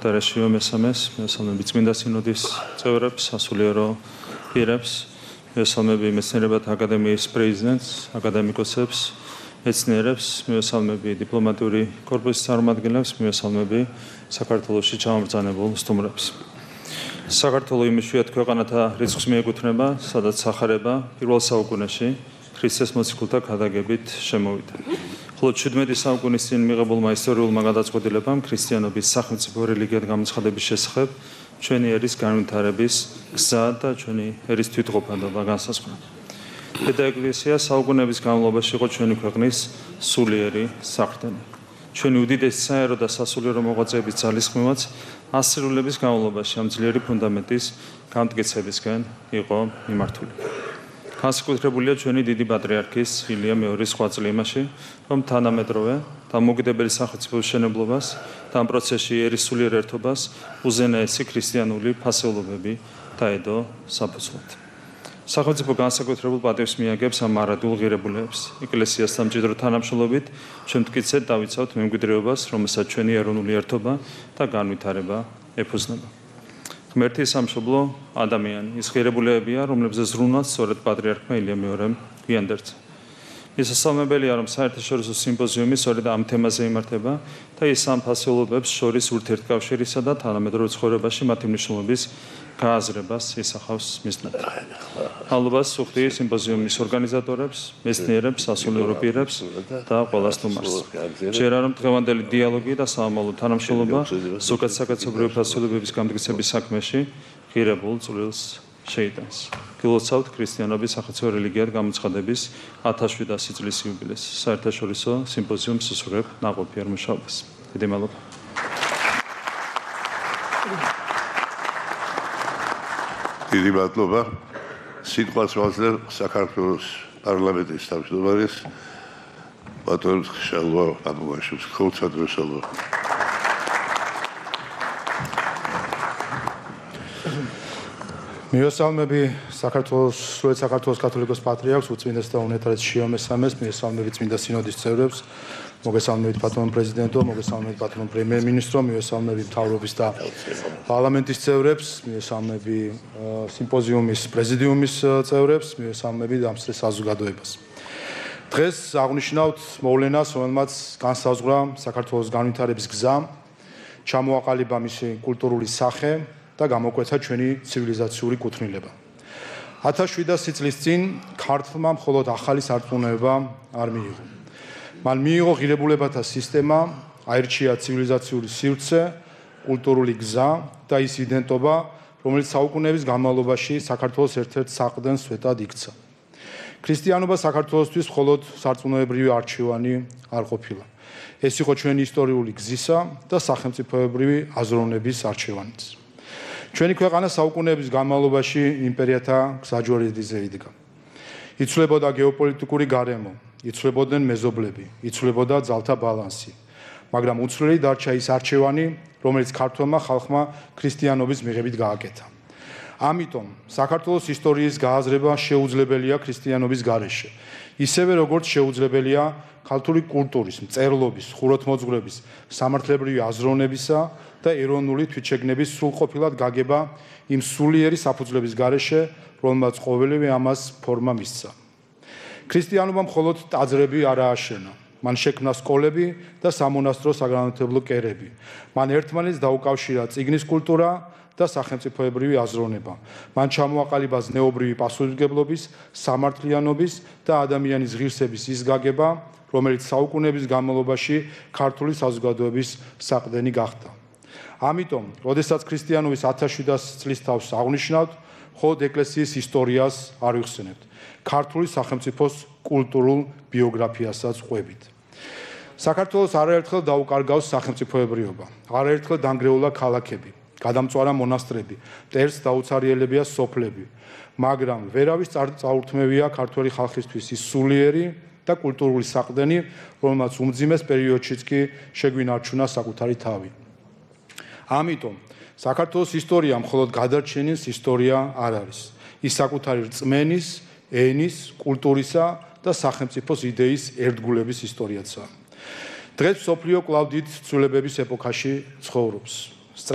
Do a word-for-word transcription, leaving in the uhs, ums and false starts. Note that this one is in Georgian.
უნეტარესიო მესამეს, მესამები წმინდა სინოდის წევრებს, სასულიერო პირებს, მესამები მეცნიერებათა აკადემიის პრეზიდენტს, აკადემიკოსებს, მეცნიერებს, მესამები დიპლომატიური კორპუსის წარმომადგენლებს, მესამები საქართველოში ჩამობრძანებულ სტუმრებს. საქართველო იმ იშვიათ ქვეყანათა რიცხვს მიეკუთვნება, სადაც სახარება პირველ საუკუნეში ქრისტეს მოციქულთა ქადაგებით შემოვიდა. ხოლო ჩვიდმეტი საუკუნის წინ მიღებულმა ისტორიულმა გადაწყვეტილებამ ქრისტიანობის სახელმწიფო რელიგიად გამოცხადების შესახებ ჩვენი ერის განვითარების გზა და ჩვენი ერის თვითყოფადობა განსაზღვრა. დედა ეკლესია საუკუნეების განმავლობაში იყო ჩვენი ქვეყნის სულიერი საყრდენი. ჩვენი უდიდესი საერო და სასულიერო მოღვაწეების ძალისხმევაც ასრულების განმავლობაში ამ ძლიერი ფუნდამენტის გამტკიცებისკენ იყო მიმართული. განსაკუთრებულია ჩვენი დიდი პატრიარქის ილია მეორის ღვაწლი იმაში, რომ თანამედროვე და მოგიდებელი სახელმწიფოს შენებლობას და ამ პროცესში ერის სულიერ ერთობას უზენაესი ქრისტიანული ფასეულობები დაედო საფუძვლად. სახელმწიფო განსაკუთრებულ პატივს მიაგებს ამ მარადულ ღირებულებას. ეკლესიასთან მჭიდრო თანამშრომლობით ჩვენ მტკიცედ დავიცავთ მემკვიდრეობას, რომელსაც ჩვენი ეროვნული ერთობა და განვითარება ეფუძნება. ღმერთის სამშობლო ადამიანი ის ღირებულებებია, რომლებზეც ზრუნვაც სწორედ პატრიარქმა ილია მეორემ გვიანდერძა. მისასალმებელია, რომ საერთაშორისო სიმპოზიუმი სწორედ ამ თემაზე იმართება და ის ამ ფასეულობებს შორის ურთიერთკავშირისა და თანამედროვე ცხოვრებაში მათი მნიშვნელობის გააზრებას ისახავს მიზნად. მადლობას სუხდი სიმპოზიუმის ორგანიზატორებს, მეცნიერებს, სასულიერო პირებს და ყველა სტუმარს. ჯერა რომ დღევანდელი დიალოგი და საამალო თანამშრომლობა ზოგად საკაცობრიო ფასეულობების გამტკიცების საქმეში ღირებულ წვლილს შეიტანს. გილოცავთ ქრისტიანობის სახელმწიფო რელიგიად გამოცხადების ათასშვიდასი წლის იუბილეს. საერთაშორისო სიმპოზიუმს უსურვებ ნაყოფიერ მუშაობას. დიდი მადლობა. დიდი მადლობა. სიტყვას ვაძლევ საქართველოს პარლამენტის თავმჯდომარეს ბატონ შალვა აბუაშვილს. ხოცადრო შალვა. მიესალმები საქართველოს სრულიად საქართველოს კათოლიკოს პატრიარქს უწმინდეს და უნეტარეს შიო მესამეს, მიესალმები წმინდა სინოდის წევრებს, მოგესალმებით ბატონ პრეზიდენტო, მოგესალმებით ბატონ პრემიერ-მინისტრო, მიესალმები მთავრობის და პარლამენტის წევრებს, მიესალმები სიმპოზიუმის პრეზიდიუმის წევრებს, მიესალმები დამსწრე საზოგადოებას. დღეს აღნიშნავთ მოვლენას, რომელმაც განსაზღვრა საქართველოს განვითარების გზა, ჩამოაყალიბა მისი კულტურული სახე და გამოკვეთა ჩვენი ცივილიზაციური კუთვნილება. ათასშვიდასი წლის წინ ქართლმა მხოლოდ ახალი სარწმუნოება არ მიიღო. მან მიიღო ღირებულებათა სისტემა, აირჩია ცივილიზაციური სივრცე, კულტურული გზა და ის იდენტობა, რომელიც საუკუნეების განმავლობაში საქართველოს ერთ-ერთ საყრდენ სვეტად იქცა. ქრისტიანობა საქართველოსთვის მხოლოდ სარწმუნოებრივი არჩევანი არ ყოფილა. ეს იყო ჩვენი ისტორიული გზისა და სახელმწიფოებრივი აზროვნების არჩევანიც. ჩვენი ქვეყანა საუკუნეების განმავლობაში იმპერიათა გზაჯვარედინზე იდგა. იცვლებოდა გეოპოლიტიკური გარემო, იცვლებოდნენ მეზობლები, იცვლებოდა ძალთა ბალანსი, მაგრამ უცვლელი დარჩა ის არჩევანი, რომელიც ქართველმა ხალხმა ქრისტიანობის მიღებით გააკეთა. ამიტომ საქართველოს ისტორიის გააზრება შეუძლებელია ქრისტიანობის გარეშე, ისევე როგორც შეუძლებელია ქართული კულტურის, მწერლობის, ხუროთმოძღვრების, სამართლებრივი აზროვნებისა და ეროვნული თვითშეგნების სრულყოფილად გაგება იმ სულიერი საფუძვლების გარეშე, რომელმაც ყოველივე ამას ფორმა მისცა. ქრისტიანობა მხოლოდ ტაძრები არ ააშენა, მან შექმნა სკოლები და სამონასტრო საგანმანათლებლო კერები. მან ერთმანეთს დაუკავშირა წიგნის კულტურა და სახელმწიფოებრივი აზროვნება. მან ჩამოაყალიბა ზნეობრივი პასუხისმგებლობის, სამართლიანობის და ადამიანის ღირსების ის გაგება, რომელიც საუკუნეების განმავლობაში ქართული საზოგადოების საყრდენი გახდა. ამიტომ, როდესაც ქრისტიანობის ათასშვიდასი წლის თავს აღნიშნავთ, მხოლოდ ეკლესიის ისტორიას არ ვიხსენებთ, ქართული სახელმწიფოს კულტურულ ბიოგრაფიასაც ყვებით. საქართველოს არაერთხელ დაუკარგავს სახელმწიფოებრიობა, არაერთხელ დანგრეულა ქალაქები, გადამწვარა მონასტრები, მტერს დაუცარიელებია სოფლები, მაგრამ ვერავის წაურთმევია ქართველი ხალხისთვის ის სულიერი და კულტურული საყრდენი, რომელმაც უმძიმეს პერიოდშიც კი შეგვინარჩუნა საკუთარი თავი. ამიტომ საქართველოს ისტორია მხოლოდ გადარჩენის ისტორია არ არის. ის საკუთარი რწმენის, ენის, კულტურისა და სახელმწიფოს იდეის ერთგულების ისტორიაცაა. დღეს მსოფლიო კვლავ დიდ ცვლილებების ეპოქაში ცხოვრობს.